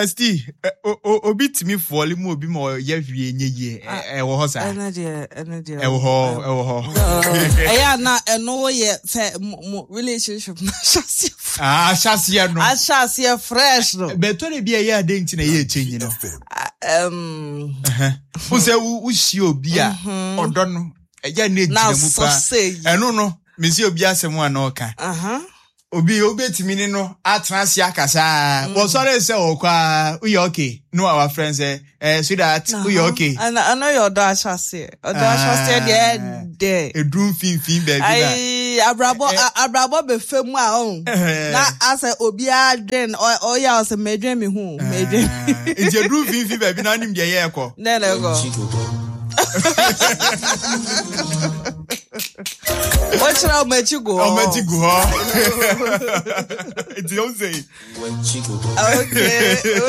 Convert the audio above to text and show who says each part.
Speaker 1: ST, obi tumi fɔle mu obi ma ɔyɛ hwee nyɛ yie. Ɛwɔ hɔ saa.
Speaker 2: Ɛno deɛ, ɛno deɛ.
Speaker 1: Ɛwɔ hɔ, ɛwɔ hɔ.
Speaker 2: Ɛyɛ a na ɛno yɛ sɛ mo relationship no ahyɛaseɛ.
Speaker 1: Ah, ahyɛaseɛ no.
Speaker 2: Ahyɛaseɛ fresh no.
Speaker 1: Bɛtɔ de bi a ɛyɛ ade nti na ɛyɛ change no. Wo sɛ wohyia obi a mhm. ɔdɔ no ɛyɛ ne gyina mu paa. Ɛno no, mesi obi asɛm a na ɔka. Obi obetumi ne no atena ase akasa a, wɔsɔre sɛ ɔkɔ a, woyɛ okay. No a wafrɛ sɛ, eh, sweetheart, woyɛ okay.
Speaker 2: Ɛno ɛno yɛ ɔdɔ ahyɛaseɛ. Ɔdɔ ahyɛaseɛ deɛ ɛdɛ.
Speaker 1: Eduru mfimfini baabi na.
Speaker 2: Ayi, abrabɔ abrabɔ bɛfɛ mu a ɔn. Na asɛ obiara dwen ɔyɛ a ɔsɛ mɛdwen me ho mɛdwen.
Speaker 1: Nti eduru mfimfini baabi na anim deɛ yɛ ɛkɔ.
Speaker 2: Nɛ na ɛkɔ. Wɔkyerɛ ɔmo akyi gu hɔ.
Speaker 1: Ɔmo akyi gu hɔ. Nti ɔmo sɛ.
Speaker 2: Okay.